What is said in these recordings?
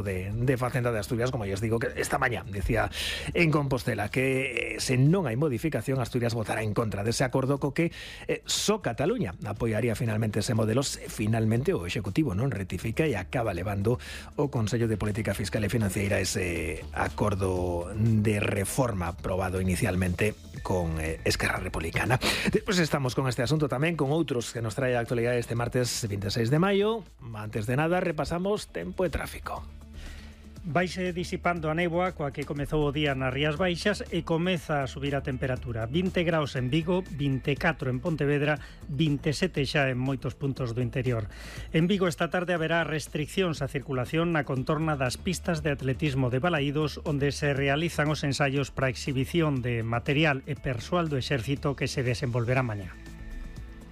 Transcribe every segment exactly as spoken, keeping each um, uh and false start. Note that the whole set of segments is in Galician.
De, de Facenda de Asturias, como ya os digo, que esta mañá decía en Compostela que eh, se non hai modificación, Asturias votará en contra dese acordo co que eh, só Cataluña apoiaría finalmente ese modelo se finalmente o Executivo non rectifica e acaba levando o Consello de Política Fiscal e Financiera ese acordo de reforma aprobado inicialmente con eh, Esquerra Republicana. Despois estamos con este asunto tamén, con outros que nos trae a actualidade este martes veintiséis de maio. Antes de nada, repasamos tempo e tráfico. Vaise disipando a néboa coa que comezou o día nas Rías Baixas e comeza a subir a temperatura. vinte graus en Vigo, vinte e catro en Pontevedra, vinte e sete xa en moitos puntos do interior. En Vigo esta tarde haberá restriccións á circulación na contorna das pistas de atletismo de Balaídos, onde se realizan os ensaios para a exhibición de material e persoal do exército que se desenvolverá mañá.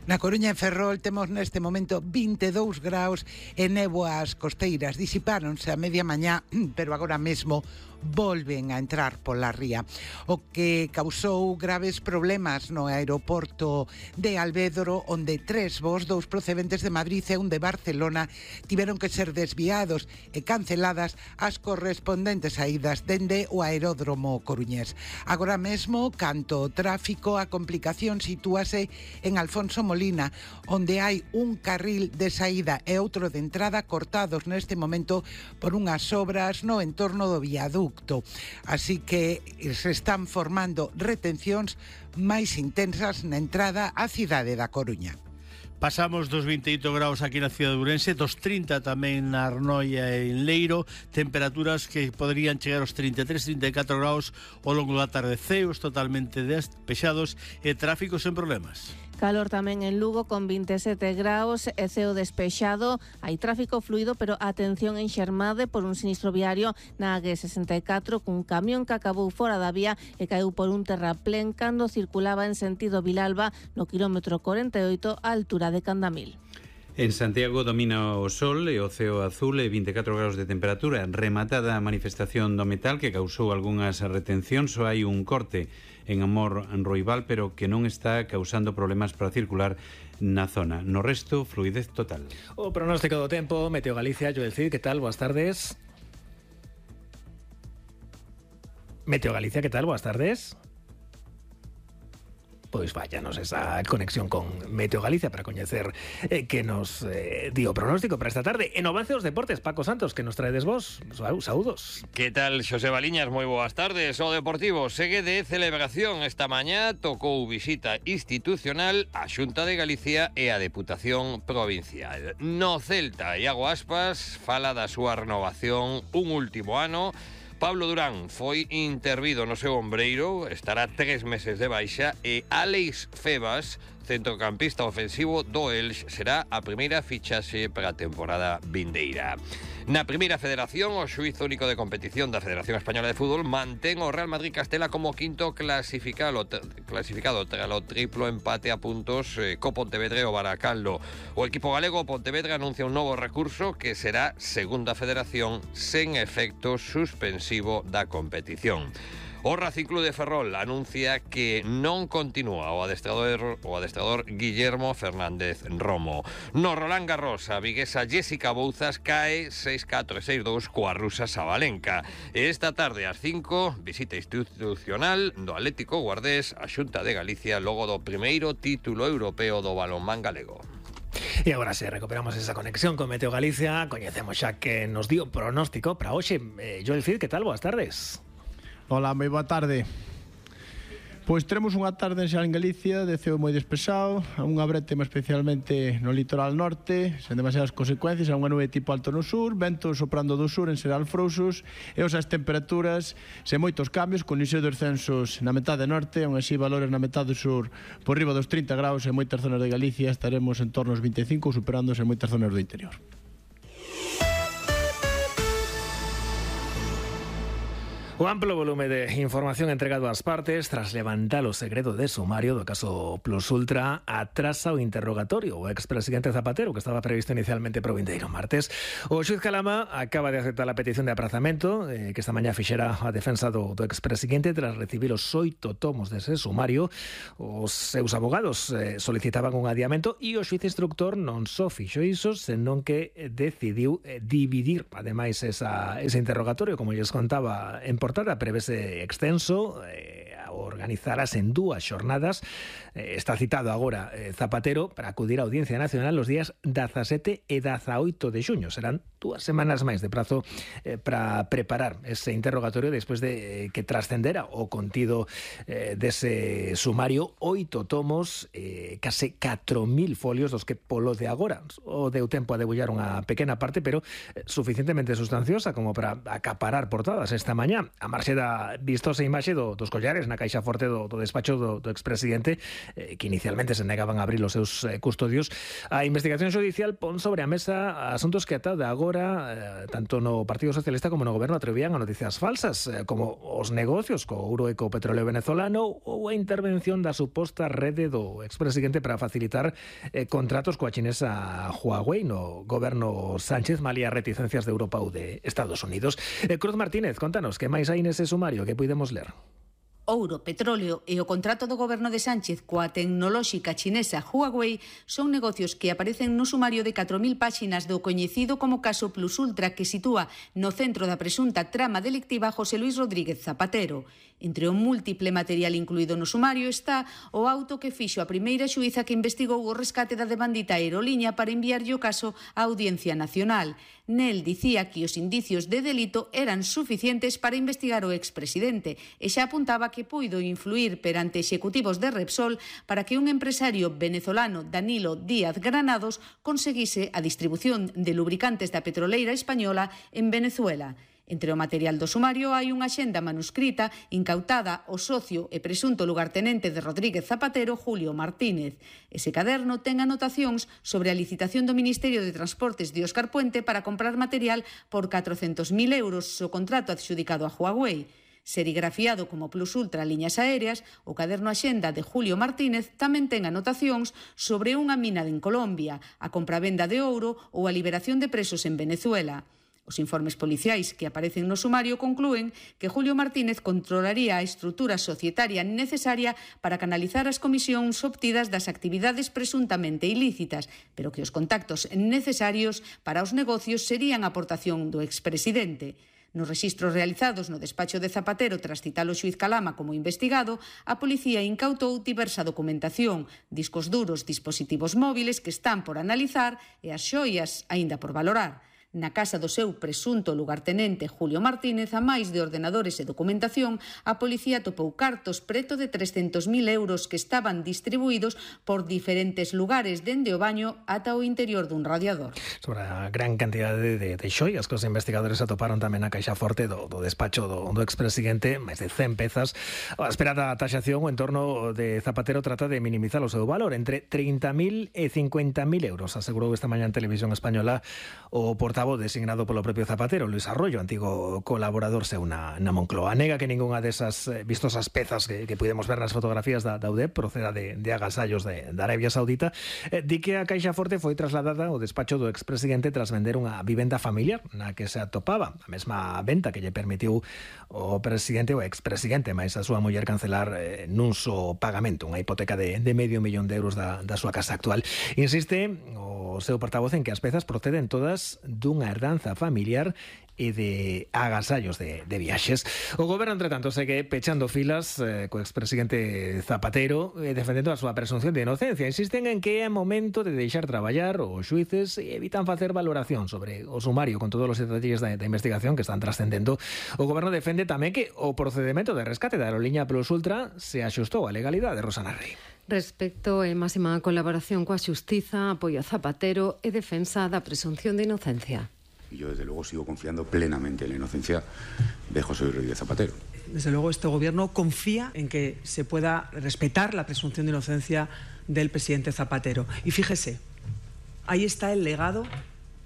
Na Coruña e Ferrol temos neste momento vinte e dous graus e néboas costeiras. Disipáronse a media mañá, pero agora mesmo volven a entrar pola ría, o que causou graves problemas no aeroporto de Alvédoro, onde tres voos, dous procedentes de Madrid e un de Barcelona, tiveron que ser desviados e canceladas as correspondentes saídas dende o aeródromo coruñés. Agora mesmo, canto o tráfico, a complicación sitúase en Alfonso Molina, onde hai un carril de saída e outro de entrada cortados neste momento por unhas obras no entorno do viaducto. Así que se están formando retencións máis intensas na entrada á cidade da Coruña. Pasamos dos vinte e oito graus aquí na cidade de Ourense, dos trinta tamén na Arnoia e en Leiro, temperaturas que poderían chegar aos trinta e tres, trinta e catro graus ao longo da tarde, ceos totalmente despexados e tráfico sen problemas. Calor tamén en Lugo con vinte e sete graus e ceo despexado. Hai tráfico fluido, pero atención en Xermade por un sinistro viario na A G sesenta e catro cun camión que acabou fora da vía e caeu por un terraplén cando circulaba en sentido Vilalba no quilómetro corenta e oito á altura de Candamil. En Santiago domina o sol e o ceo azul e vinte e catro graus de temperatura. Rematada a manifestación do metal que causou algunhas retencións, só hai un corte en Amor Roibal, pero que non está causando problemas para circular na zona. No resto, fluidez total. O pronóstico do tempo, Meteo Galicia, Joel Cid, que tal? Boas tardes. Meteo Galicia, que tal? Boas tardes. Pois váyanos esa conexión con Meteo Galicia para coñecer eh, que nos eh, dio pronóstico para esta tarde. En avance dos deportes, Paco Santos, que nos traedes vos. Saúdos. Que tal, Xosé Baliñas? Moi boas tardes. O Deportivo segue de celebración. Esta mañá tocou visita institucional a Xunta de Galicia e a Deputación Provincial. No Celta, Iago Aspas fala da súa renovación un último ano. Pablo Durán foi intervido no seu ombreiro, estará tres meses de baixa, e Álex Febas, centrocampista ofensivo do Elx, será a primeira fichaxe para a temporada vindeira. Na primeira federación, o xuízo único de competición da Federación Española de Fútbol mantén o Real Madrid Castela como quinto clasificado, clasificado tras o triplo empate a puntos eh, co Pontevedra e o Baracaldo. O equipo galego Pontevedra anuncia un novo recurso que será segunda federación sen efecto suspensivo da competición. O Racing Club de Ferrol anuncia que non continúa o adestrador, o adestrador Guillermo Fernández Romo. No Roland Garros, a viguesa Jessica Bouzas cae seis catro e seis dous coa rusa Sabalenka. E esta tarde ás cinco, visita institucional do Atlético Guardés a Xunta de Galicia logo do primeiro título europeo do balonmán galego. E agora se recuperamos esa conexión con Meteo Galicia, coñecemos xa que nos dio pronóstico para hoxe. Eh, Joel Cid, que tal? Boas tardes. Hola, moi boa tarde. Pois teremos unha tarde en Xal en Galicia de ceo moi despexado, unha brétema especialmente no litoral norte, sen demasiadas consecuencias, unha nube tipo alto no sur, vento soprando do sur en Seral Frouxos, e os as temperaturas sen moitos cambios, con inicio de descensos na metade norte, aún así valores na metade sur por riba dos trinta graus, en moitas zonas de Galicia estaremos en torno aos vinte e cinco, superándose en moitas zonas do interior. O amplo volume de información entregado ás partes tras levantar o segredo de sumario do caso Plus Ultra atrasa o interrogatorio o expresidente Zapatero, que estaba previsto inicialmente para o vindeiro martes. O xuiz Calama acaba de aceptar a petición de aprazamento eh, que esta mañá fixera a defensa do, do expresidente tras recibir os oito tomos dese sumario. Os seus abogados eh, solicitaban un adiamento e o xuiz instructor non só fixo iso, senón que decidiu eh, dividir ademais esa, ese interrogatorio, como lles contaba en portada, prevese extenso, eh, organizarás en dúas xornadas. Eh, está citado agora eh, Zapatero para acudir á Audiencia Nacional os días dezasete e dezaoito de xuño. Serán dúas semanas máis de prazo eh, para preparar ese interrogatorio despois de eh, que trascendera o contido eh, dese sumario, oito tomos, eh, case catro mil folios, dos que polo de agora o deu tempo a debullar unha pequena parte, pero eh, suficientemente sustanciosa como para acaparar portadas esta mañá. A marxe da vistosa imaxe do, dos collares na caixa forte do, do despacho do, do expresidente, eh, que inicialmente se negaban a abrir os seus eh, custodios, a investigación xudicial pon sobre a mesa asuntos que ata de agora, eh, tanto no Partido Socialista como no Goberno, atrevían a noticias falsas, eh, como os negocios co ouro e co petróleo venezolano ou a intervención da suposta rede do expresidente para facilitar eh, contratos coa chinesa Huawei no Goberno Sánchez, malia reticencias de Europa ou de Estados Unidos. Eh, Cruz Martínez, contanos, que máis hai nese sumario que podemos ler? Ouro, petróleo e o contrato do goberno de Sánchez coa tecnolóxica chinesa Huawei son negocios que aparecen no sumario de catro mil páxinas do coñecido como caso Plus Ultra, que sitúa no centro da presunta trama delictiva José Luis Rodríguez Zapatero. Entre o múltiple material incluído no sumario está o auto que fixo a primeira xuíza que investigou o rescate da demandita aeroliña para enviarlle o caso á Audiencia Nacional. Nel dicía que os indicios de delito eran suficientes para investigar o expresidente e xa apuntaba que puido influir perante executivos de Repsol para que un empresario venezolano, Danilo Díaz Granados, conseguise a distribución de lubricantes da petroleira española en Venezuela. Entre o material do sumario hai unha axenda manuscrita incautada ao socio e presunto lugartenente de Rodríguez Zapatero, Julio Martínez. Ese caderno ten anotacións sobre a licitación do Ministerio de Transportes de Óscar Puente para comprar material por catrocentos mil euros o contrato adxudicado a Huawei. Serigrafiado como Plus Ultra Liñas Aéreas, o caderno Axenda de Julio Martínez tamén ten anotacións sobre unha mina en Colombia, a compravenda de ouro ou a liberación de presos en Venezuela. Os informes policiais que aparecen no sumario conclúen que Julio Martínez controlaría a estrutura societaria necesaria para canalizar as comisións obtidas das actividades presuntamente ilícitas, pero que os contactos necesarios para os negocios serían a aportación do expresidente. Nos rexistros realizados no despacho de Zapatero tras citar o xuiz Calama como investigado, a policía incautou diversa documentación, discos duros, dispositivos móviles que están por analizar e as xoias aínda por valorar. Na casa do seu presunto lugartenente Julio Martínez, a máis de ordenadores e documentación, a policía topou cartos preto de trescentos mil euros que estaban distribuídos por diferentes lugares dende o baño ata o interior dun radiador. Sobre a gran cantidade de, de xoias que os investigadores atoparon tamén na caixa forte do, do despacho do, do expresidente, máis de cen pezas. A esperada taxación o entorno de Zapatero trata de minimizar o seu valor entre trinta mil e cincuenta mil euros, asegurou esta mañá en Televisión Española o portavoz designado polo propio Zapatero, Luis Arroyo, antigo colaborador seu na, na Moncloa. Nega que ningunha desas eh, vistosas pezas que, que podemos ver nas fotografías da, da U D E P proceda de, de agasallos de, de Arabia Saudita. Eh, di que a caixa forte foi trasladada ao despacho do expresidente tras vender unha vivenda familiar na que se atopaba, a mesma venta que lle permitiu o presidente o expresidente, máis a súa muller cancelar eh, nun só pagamento, unha hipoteca de, de medio millón de euros da, da súa casa actual. Insiste o seu portavoz en que as pezas proceden todas dunha herdanza familiar e de agasallos de, de viaxes. O goberno, entre tanto, segue pechando filas eh, co expresidente Zapatero eh, defendendo a súa presunción de inocencia. Insisten en que é momento de deixar traballar os xuíces e evitan facer valoración sobre o sumario con todos os detalles da, da investigación que están trascendendo. O goberno defende tamén que o procedimento de rescate da aeroliña Plus Ultra se axustou á legalidade. Rosana Rey. Respecto e máxima colaboración coa xustiza, apoio a Zapatero e defensa da presunción de inocencia. Y yo, desde luego, sigo confiando plenamente en la inocencia de José Luis Rodríguez Zapatero. Desde luego, este Gobierno confía en que se pueda respetar la presunción de inocencia del presidente Zapatero. Y fíjese, ahí está el legado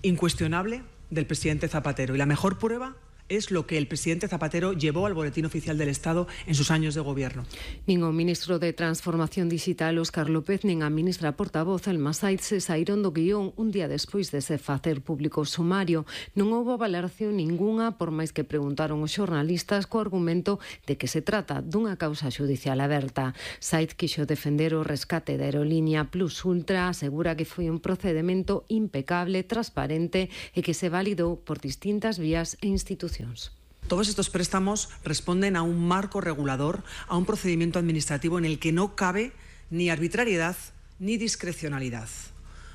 incuestionable del presidente Zapatero. Y la mejor prueba es lo que el presidente Zapatero llevó al Boletín Oficial del Estado en sus años de gobierno. Nin o ministro de Transformación Digital, Óscar López, nin a ministra portavoz, Elma Saiz, se saíron do guión un día despois de se facer público o sumario. Non houbo valoración ningunha, por máis que preguntaron os xornalistas, co argumento de que se trata dunha causa xudicial aberta. Saiz quixo defender o rescate da aerolínea Plus Ultra, asegura que foi un procedimento impecable, transparente e que se validou por distintas vías e institucións. Todos estos préstamos responden a un marco regulador, a un procedimiento administrativo en el que no cabe ni arbitrariedad ni discrecionalidad.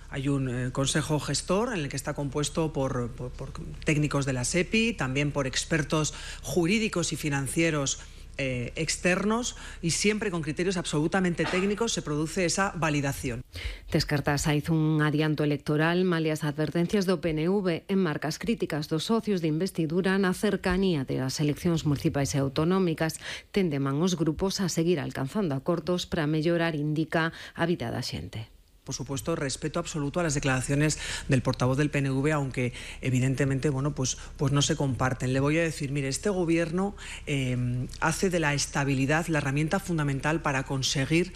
Hay un eh, consejo gestor en el que está compuesto por, por, por técnicos de la SEPI, también por expertos jurídicos y financieros Eh, externos, y siempre con criterios absolutamente técnicos se produce esa validación. Descarta Saiz un adianto electoral, malia as advertencias do P N V en marcas críticas dos socios de investidura na cercanía das eleccións municipais e autonómicas. Tendeman os grupos a seguir alcanzando acordos para mellorar, indica, a vida da xente. Por supuesto, respeto absoluto a las declaraciones del portavoz del P N V, aunque evidentemente, bueno, pues, pues no se comparten. Le voy a decir, mire, este gobierno eh, hace de la estabilidad la herramienta fundamental para conseguir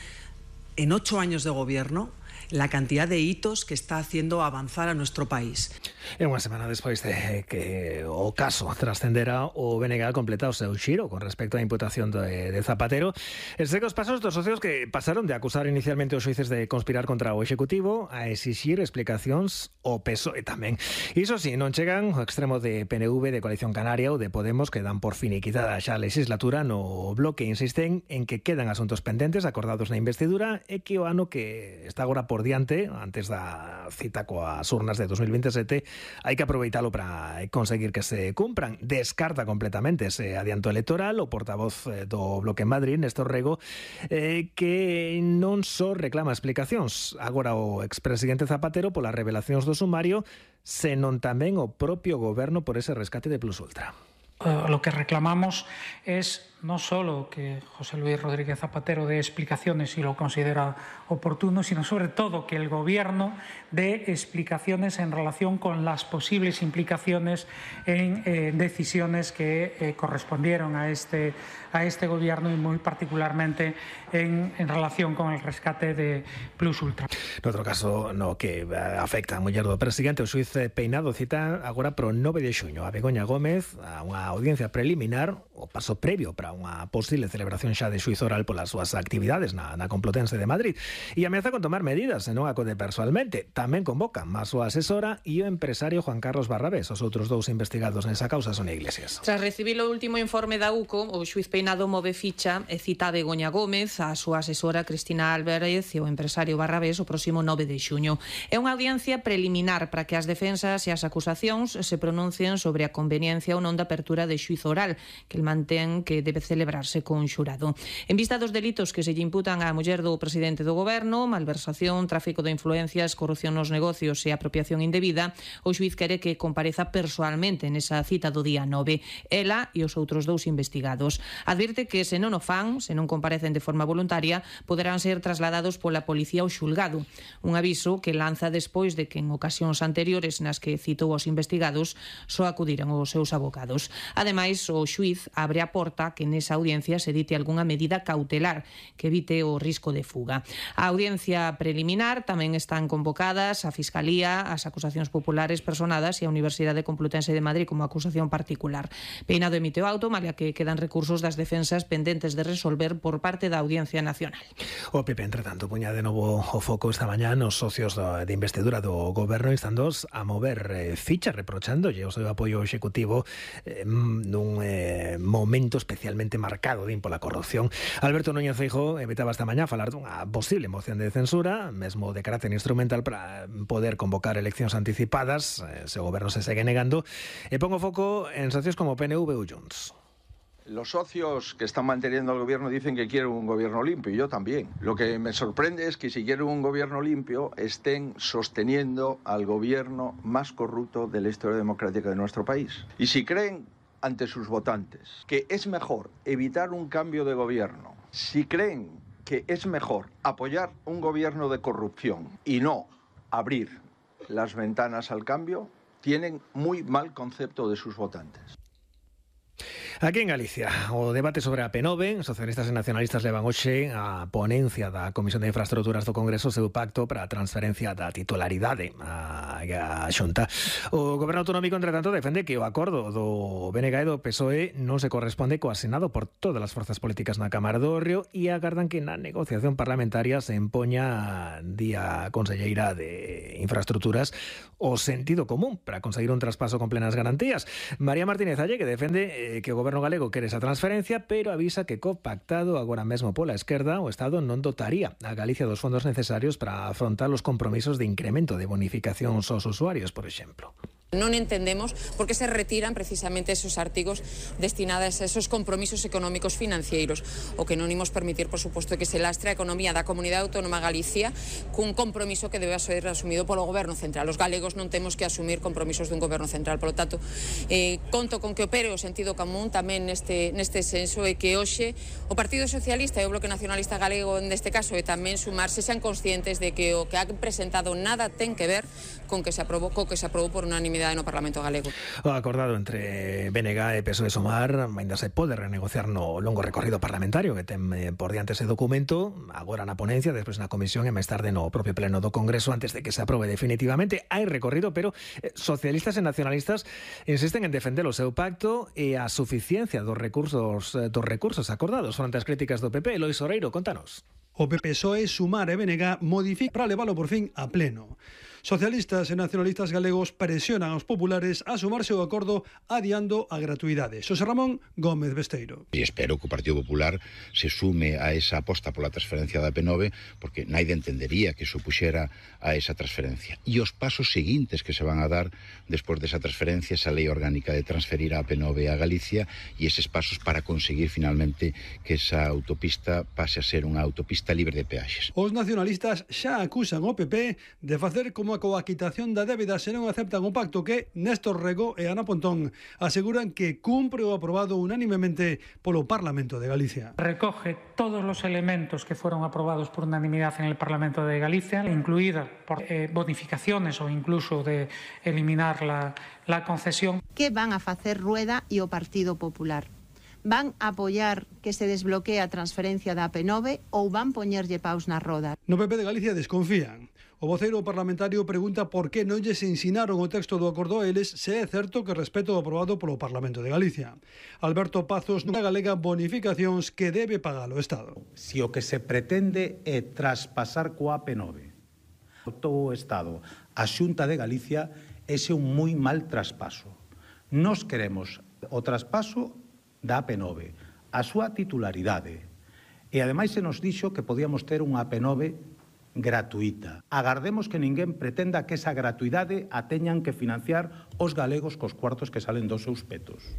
en ocho años de gobierno la cantidad de hitos que está haciendo avanzar a nuestro país. E unha semana despois de que o caso trascendera, o B N G completa o seu xiro con respecto á imputación de, de Zapatero. E segue os pasos dos socios que pasaron de acusar inicialmente os xuíces de conspirar contra o Executivo a exixir explicacións ao P S O E tamén. Iso sí, non chegan ao extremo de P N V, de Coalición Canaria ou de Podemos, que dan por finiquitada xa a legislatura no bloque. Insisten en que quedan asuntos pendentes acordados na investidura e que o ano que está agora por diante, antes da cita coas urnas de dos mil veintisiete, hai que aproveitalo para conseguir que se cumpran. Descarta completamente ese adianto electoral o portavoz do Bloque en Madrid, Néstor Rego, eh, que non só reclama explicacións agora o expresidente Zapatero polas revelacións do sumario, senón tamén o propio goberno por ese rescate de Plus Ultra. Uh, lo que reclamamos es no solo que José Luis Rodríguez Zapatero dé explicaciones si lo considera oportuno, sino sobre todo que el Gobierno dé explicaciones en relación con las posibles implicaciones en eh, decisiones que eh, correspondieron a este, a este Gobierno y muy particularmente en, en relación con el rescate de Plus Ultra. Noutro caso no que afecta a muller do presidente, o xuíz Peinado cita agora pro nove de xuño a Begoña Gómez a unha audiencia preliminar, o paso previo para unha posible celebración xa de xuízo oral polas súas actividades na, na Complutense de Madrid, e ameaza con tomar medidas se non acode personalmente. Tamén convocan a súa asesora e o empresario Juan Carlos Barrabés. Os outros dous investigados nesa causa son Iglesias. Tras recibir o último informe da U C O, o xuíz Peinado move ficha e cita a Begoña Gómez, a súa asesora Cristina Álvarez e o empresario Barrabés o próximo nove de xuño. É unha audiencia preliminar para que as defensas e as acusacións se pronuncien sobre a conveniencia ou non da apertura de xuízo oral, que el mantén que debe celebrarse con xurado. En vista dos delitos que se lle imputan á muller do presidente do goberno, malversación, tráfico de influencias, corrupción nos negocios e apropiación indebida, o xuíz quere que compareza persoalmente nesa cita do día nove. Ela e os outros dous investigados. Advirte que se non o fan, se non comparecen de forma voluntaria, poderán ser trasladados pola policía ao xulgado. Un aviso que lanza despois de que en ocasións anteriores nas que citou os investigados só acudiran os seus abogados. Ademais, o xuíz abre a porta que nesa audiencia se dite algunha medida cautelar que evite o risco de fuga. A audiencia preliminar tamén están convocadas a Fiscalía, as acusacións populares personadas e a Universidade Complutense de Madrid como acusación particular. Peinado emite o auto, malia que quedan recursos das defensas pendentes de resolver por parte da Audiencia Nacional. O P P, entre tanto, puña de novo o foco esta mañá nos socios de investidura do goberno, instandos a mover eh, ficha, reprochandolle o seu apoio executivo eh, nun eh, momento especialmente marcado din pola corrupción. Alberto Núñez Feijóo evitaba esta mañá falar dunha posible moción de censura, mesmo de carácter instrumental para poder convocar eleccións anticipadas, eh, se o goberno se segue negando, e pongo foco en socios como P N V ou Junts. Los socios que están manteniendo al gobierno dicen que quieren un gobierno limpio, y yo también. Lo que me sorprende es que si quieren un gobierno limpio estén sosteniendo al gobierno más corrupto de la historia democrática de nuestro país. Y si creen ante sus votantes que es mejor evitar un cambio de gobierno, si creen que es mejor apoyar un gobierno de corrupción y no abrir las ventanas al cambio, tienen muy mal concepto de sus votantes. Aquí en Galicia, o debate sobre a P nove, socialistas e nacionalistas levan hoxe a ponencia da Comisión de Infraestructuras do Congreso o seu pacto para a transferencia da titularidade á Xunta. O Goberno Autonómico, entre tanto, defende que o acordo do B N G e do P S O E non se corresponde co asinado por todas as forzas políticas na Cámara do Río e agardan que na negociación parlamentaria se empoña día conselleira de Infraestructuras o sentido común para conseguir un traspaso con plenas garantías. María Martínez Alle, que defende eh, que o Goberno galego quere esa transferencia, pero avisa que co pactado agora mesmo pola esquerda o Estado non dotaría a Galicia dos fondos necesarios para afrontar os compromisos de incremento de bonificación aos usuarios, por exemplo. Non entendemos por que se retiran precisamente esos artigos destinados a esos compromisos económicos financeiros. O que non imos permitir, por suposto, que se lastre a economía da Comunidade Autónoma Galicia cun compromiso que debe ser asumido polo Goberno Central. Os galegos non temos que asumir compromisos dun Goberno Central. Por lo tanto, eh, conto con que opere o sentido común tamén neste, neste senso e que hoxe o Partido Socialista e o Bloque Nacionalista Galego, neste caso, e tamén sumarse, sean conscientes de que o que ha presentado nada ten que ver con que se aprobou, co que se aprobou por unanimidade no Parlamento galego. O acordado entre B N G e P S O E Sumar ainda se pode renegociar no longo recorrido parlamentario que ten por diante ese documento, agora na ponencia, despois na comisión e máis tarde no propio pleno do Congreso antes de que se aprobe definitivamente. Hai recorrido, pero socialistas e nacionalistas insisten en defender o seu pacto e a suficiencia dos recursos dos recursos acordados fronte ás críticas do P P. Lois Oreiro, contanos. O P P S O E, Sumar e B N G modifica para leválo por fin a pleno. Socialistas e nacionalistas galegos presionan aos populares a sumarse ao acordo adiando a gratuidade. Xosé Ramón Gómez Besteiro. E espero que o Partido Popular se sume a esa aposta pola transferencia da P nove, porque naide entendería que supuxera a esa transferencia. E os pasos seguintes que se van a dar despois desa transferencia, esa lei orgánica de transferir a P nove a Galicia e eses pasos para conseguir finalmente que esa autopista pase a ser unha autopista libre de peaxes. Os nacionalistas xa acusan o P P de facer como a coaquitación da débeda se non aceptan o pacto que Néstor Rego e Ana Pontón aseguran que cumpre o aprobado unánimemente polo Parlamento de Galicia. Recoge todos los elementos que fueron aprobados por unanimidad en el Parlamento de Galicia, incluida por eh, bonificaciones o incluso de eliminar la, la concesión. ¿Qué van a facer Rueda e o Partido Popular? Van a apoiar que se desbloquee a transferencia da P nove ou van poñerlle paus na roda? No P P de Galicia desconfían. O voceiro parlamentario pregunta por que non lles ensinaron o texto do acordo a eles se é certo que respeto o aprobado polo Parlamento de Galicia. Alberto Pazos non galega bonificacións que debe pagar o Estado. Si o que se pretende é traspasar coa P nove todo o Estado a Xunta de Galicia, ese é un moi mal traspaso. Nos queremos o traspaso da P nove, a súa titularidade. E ademais se nos dixo que podíamos ter unha P nove gratuita. Agardemos que ninguén pretenda que esa gratuidade a teñan que financiar os galegos cos cuartos que salen dos seus petos.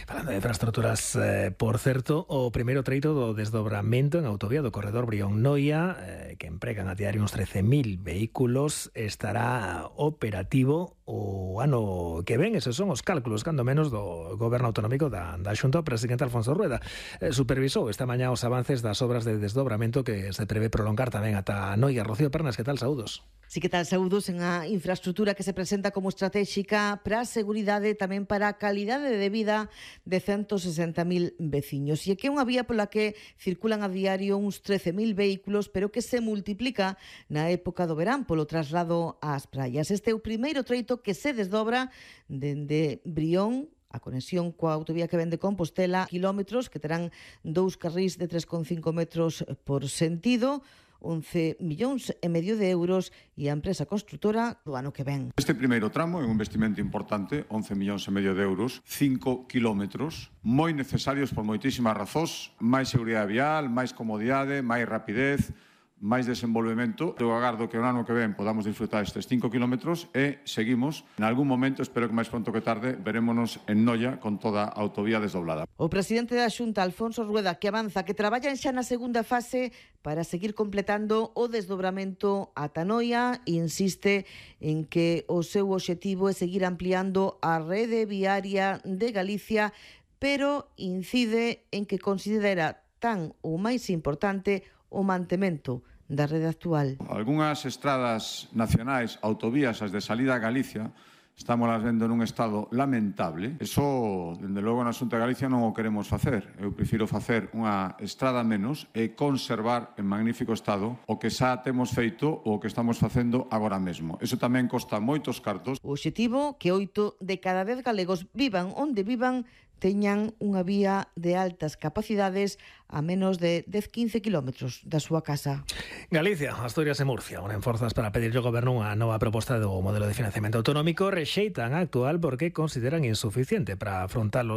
Falando de infraestructuras, eh, por certo, o primeiro treito do desdobramento en autovía do corredor Brión-Noia, eh, que empregan a diario uns trece mil vehículos, estará operativo o ano que ven. Esos son os cálculos, cando menos, do Goberno Autonómico da, da Xunta. O presidente Alfonso Rueda eh, supervisou esta mañá os avances das obras de desdobramento que se prevé prolongar tamén ata Noia. Rocío Pernas, que tal? Saúdos. Sí, que tal? Saúdos en a infraestructura que se presenta como estratégica para a seguridade e tamén para a calidade de vida de ciento sesenta mil veciños. E que é unha vía pola que circulan a diario uns trece mil vehículos, pero que se multiplica na época do verán polo traslado ás praias. Este é o primeiro treito que se desdobra dende Brión a conexión coa autovía que ven de Compostela, kilómetros que terán dous carrís de tres coma cinco metros por sentido, once millóns e medio de euros e a empresa construtora do ano que ven. Este primeiro tramo é un investimento importante, once millóns e medio de euros, cinco kilómetros, moi necesarios por moitísimas razóns, máis seguridade vial, máis comodidade, máis rapidez, máis desenvolvemento. Eu agardo que o ano que ven podamos disfrutar estes cinco kilómetros e seguimos. En algún momento, espero que máis pronto que tarde, verémonos en Noia con toda a autovía desdoblada. O presidente da Xunta, Alfonso Rueda, que avanza que traballan xa na segunda fase para seguir completando o desdobramento ata Noia, insiste en que o seu obxectivo é seguir ampliando a rede viaria de Galicia, pero incide en que considera tan ou máis importante o mantemento da rede actual. Algúnas estradas nacionais, autovías, as de salida a Galicia, estamos las vendo nun estado lamentable. Eso, dende logo, na Xunta de Galicia non o queremos facer. Eu prefiro facer unha estrada menos e conservar en magnífico estado o que xa temos feito ou o que estamos facendo agora mesmo. Eso tamén costa moitos cartos. O obxectivo que oito de cada dez galegos vivan onde vivan teñan unha vía de altas capacidades a menos de dez a quince kilómetros da súa casa. Galicia, Asturias e Murcia unen forzas para pedirlle ao Goberno unha nova proposta do modelo de financiamento autonómico. Rexeitan a actual porque consideran insuficiente para afrontar